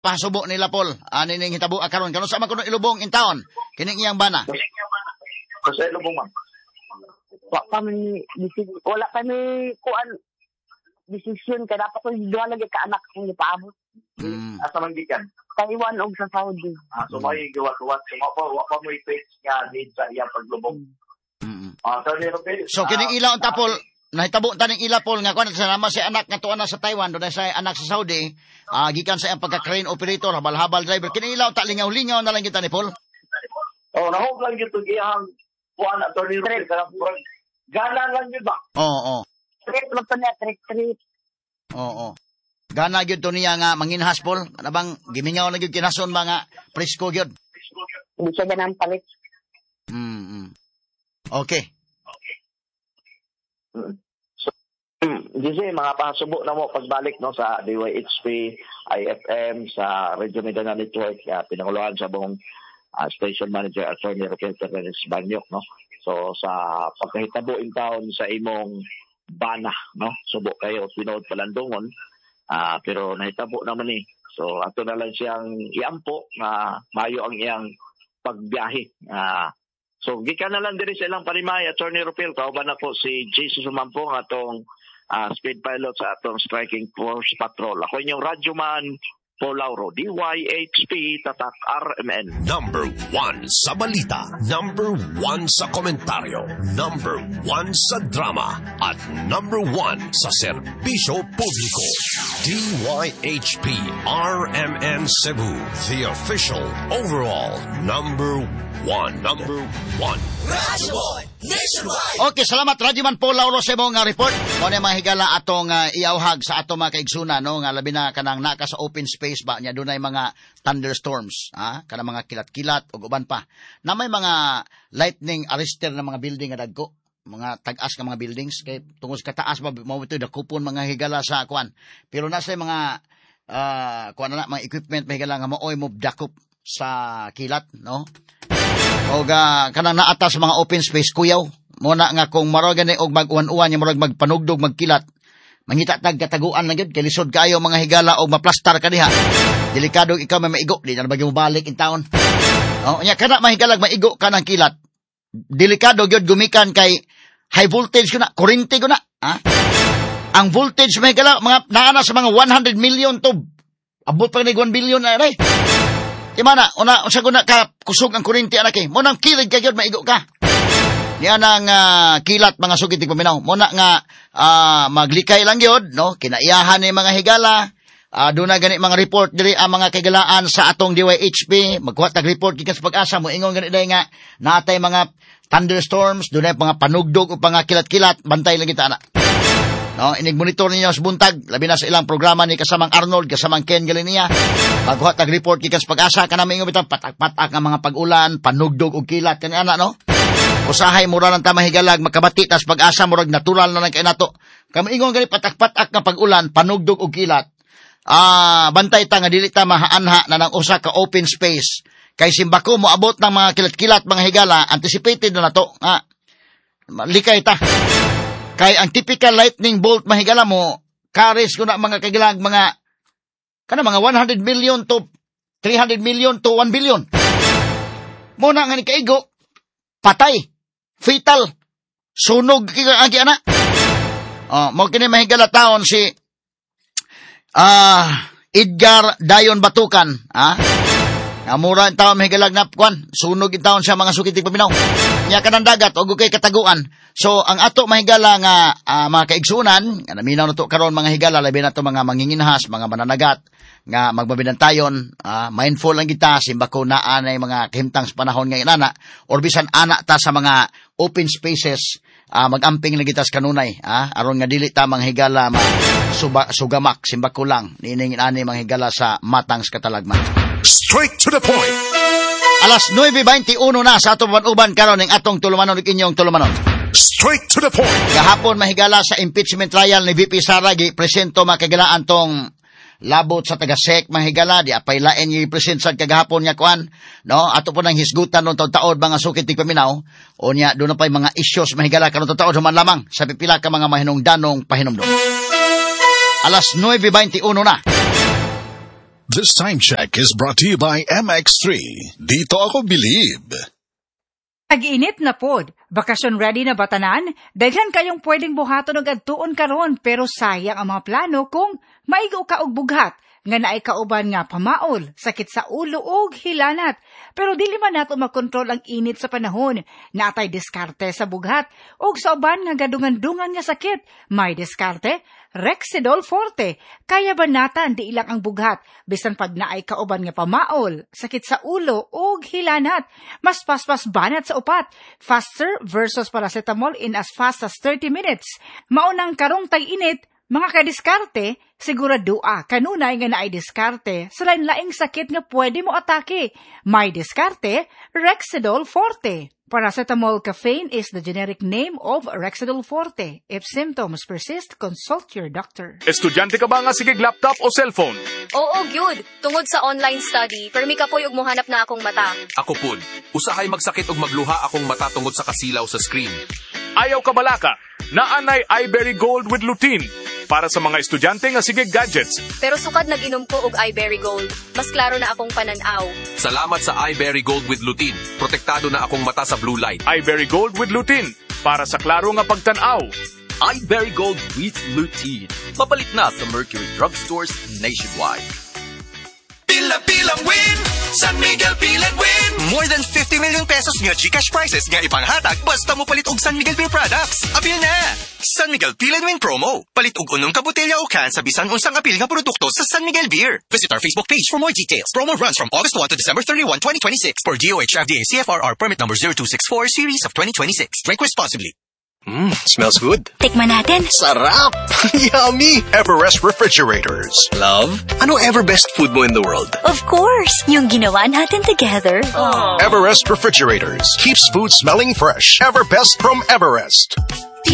Pasubo nila, Paul, ani ning hitabo karon, kanu sa man kuno ilubong in town kining iyang bana? Kasi lubong, ma'am. Wa pa man wala pa mi kuan desisyon kay dapat ko duha lagi ka anak akong gipaabot. Asa man gikan? Taiwan og sa Saudi. Ah, so may gawa-gawa. So mao pa wa pa mo fix nga need sa iyang paglubong. Ah, Attorney Rupil. So kining ila unta, Paul, nahitabo ta ning ila, Paul, nga kuan sa nama si anak nga tuwa na sa Taiwan, dunay sa anak sa Saudi, gikan sa iyang pagka-crane operator, habal-habal driver. Kining ila unta, lingaw-lingaw na lang kita ni Paul. Oh, nahog lang gyud tong iyang kuan, Attorney Rupil, kanang murag gana lang gyud ba? Oo. Trip lang to niya, trip trip. Oo. Gana gyud to niya nga manginhas, Paul. Kana bang gimingaw na gyud kinason mga presko gyud. Hindi siya ganang palit. Okay. So, Jose, mga pasubo na mo pagbalik, no, sa DYHP, IFM, sa Radio Mindanao Network, pinanguluhan sa buong station manager, Attorney Raquel Fernandez Banyok, no. So sa pagkahitabo in town sa imong bana, no, subo kayo tinuod palandungon, pero nahitabo naman ni. So ato na lang siyang iampo nga mayo ang iyang pagbiyahe. So gikan na lang diri sa ilang panimay, Attorney Rupil, kauban nako si Jesus Sumampong, atong speed pilot sa atong Striking Force Patrol. Ako inyong radyoman, Paul Lauro, DYHP, Tatak RMN. Number 1 sa balita, number 1 sa komentaryo, number 1 sa drama, at number 1 sa serbisyo publiko. DYHP RMN Cebu, the official overall number 1. Number 1. Okay, salamat, Radyoman Paul Lauro, sa imong report. Mo ni mga higala atong iawhag sa atong mga kaigsunan, no, nga labi na kanang naka sa open space ba nya dunay mga thunderstorms, ha, kanang mga kilat-kilat ug uban pa. Na may mga lightning arrester na mga building nga dagko, mga tag-as nga mga buildings kay tungod sa kataas ba mao ito dakupon, mga higala, sa kuan. Pero nasa mga kuan na mga equipment, mga higala, nga maoy mo dakop sa kilat, no? O ga kanang naata sa mga open space, kuyaw mo na nga kung maro gani og mag-uwan-uwan nya murag magpanugdog, magkilat, mangita tag kataguan lang gyud kay lisod kaayo, mga higala, og maplastar ka diha. Delikado ikaw may maigo, di na ba mobalik in town. Oh, nya kana, mahigalag, maigo ka ng kilat, delikado gyud gumikan kay high voltage ko na, kuryente ko na, ha? Ang voltage, mga higala, mga naa na sa mga 100 million to abot pa ni 1 billion na aray. Di man na, una, unsa ko na ka kusog ang kuryente anak eh. Mo nang kilig ka gyud, maigo ka. Niya nang kilat, mga sugit paminaw. Mo na nga maglikay lang gyud, no? Kinaiyahan ni mga higala. Doon na gani mga report diri ang mga kagalaan sa atong DYHP. Magkuha tag report gikan sa Pag-asa mo ingon gani day nga natay mga thunderstorms, dunay mga panugdog o mga kilat-kilat, bantay lang kita ana. No, inig monitor ninyo sa buntag, labi na sa ilang programa ni kasamang Arnold, kasamang Ken Galinia. Magkuha tag report gikan sa Pag-asa kana mingon bitang patak-patak nga mga pag-ulan, panugdog og kilat kani ana, no. Usahay mura lang ta, mahigalag, makabati tas Pag-asa, murag natural na lang kay nato. Kami ingon gani patak-patak nga pag-ulan, panugdog og kilat. Bantay ta nga dili ta mahaanha na ng usa ka open space. Kay simbako moabot ng mga kilat-kilat, mga higala, anticipated na nato nga likay ta. Kay ang typical lightning bolt, mahigala, mo carries ko na, mga kagilag, mga kana mga 100 million to 300 million to 1 billion. Mo na nga ni kaigo, patay, fatal, sunog kay agi ana. Oh, mo kini, mahigala, taon si Edgar Dayon Batukan, ha? Amura ang taon, mahigalag, na kwan, sunog in taon siya, mga sukit paminaw. Nya kanang dagat og kay kataguan. So ang ato, mahigala, nga mga kaigsunan, nga naminaw na to karon, mga higala, labi na to mga manginginhas, mga mananagat nga magbabinantayon, mindful lang kita simbako naa nay mga kahimtang sa panahon nga inana or bisan ana ta sa mga open spaces, magamping lang kita sa kanunay, aron nga dili ta, mga higala, ma suba, sugamak simbako lang niining ani, mga higala, sa matang sa katalagman. Straight to the point. Alas 9:21 na sa atong uban karon ning atong tulumanon ug inyong tulumanon. Straight to the point. Gahapon, mahigala, sa impeachment trial ni VP Sara, gi presento, makagilaan, tong labot sa taga-SEC, mahigala, di apay lain gi present sa kagahapon nga kuan, no, ato po nang hisgutan no taod, mga sukit ti paminaw. O nya doon na pay mga issues, mahigala, karon taod human lamang sa pipila ka mga mahinungdanong pahinumdum. Alas 9:21 na. This time check is brought to you by MX3. Dito ako believe. Tag-init na pod. Bakasyon ready na ba tanan? Daghan kayong pwedeng buhaton og adtuon karon, pero sayang ang mga plano kung maigo ka og bughat nga naay kauban nga pamaol, sakit sa ulo ug hilanat. Pero dili man nato makontrol ang init sa panahon. Natay diskarte sa bughat ug sa uban nga gadungan-dungan nga sakit. May diskarte, Rexidol Forte. Kaya banatan di ilang ang bughat bisan pag naay kauban nga pamaol, sakit sa ulo ug hilanat. Mas paspas banat sa upat. Faster versus paracetamol in as fast as 30 minutes. Maunang karong tag-init, mga kadiskarte, siguradoa kanunay nga naay diskarte sa lain-laing sakit nga pwede mo atake. May diskarte, Rexidol Forte. Paracetamol caffeine is the generic name of Rexidol Forte. If symptoms persist, consult your doctor. Estudyante ka ba nga sige laptop o cellphone? Oo, gyud. Tungod sa online study, permi kapoy og mohanap na akong mata. Ako pud. Usahay magsakit og magluha akong mata tungod sa kasilaw sa screen. Ayaw ka balaka. Naanay iBerry Gold with Lutein. Para sa mga estudyante nga sige gadgets. Pero sukad nag-inom ko og iBerry Gold, mas klaro na akong pananaw. Salamat sa iBerry Gold with Lutein. Protektado na akong mata sa blue light. iBerry Gold with Lutein. Para sa klaro nga pagtan-aw. iBerry Gold with Lutein. Mapalit na sa Mercury Drugstores nationwide. Pila-pilang win! San Miguel Peel and Win! More than 50 million pesos nga GCash prizes nga ipanghatag basta mo palit og San Miguel Beer products. Apil na! San Miguel Peel and Win promo. Palit og unom ka botelya o can sa bisan unsang apil nga produkto sa San Miguel Beer. Visit our Facebook page for more details. Promo runs from August 1 to December 31, 2026 for DOH FDA CFRR permit number 0264 series of 2026. Drink responsibly. Smells good. Tikman natin. Sarap! Yummy! Everest Refrigerators. Love, ano ever best food mo in the world? Of course, yung ginawa natin together. Everest Refrigerators keeps food smelling fresh. Ever best from Everest.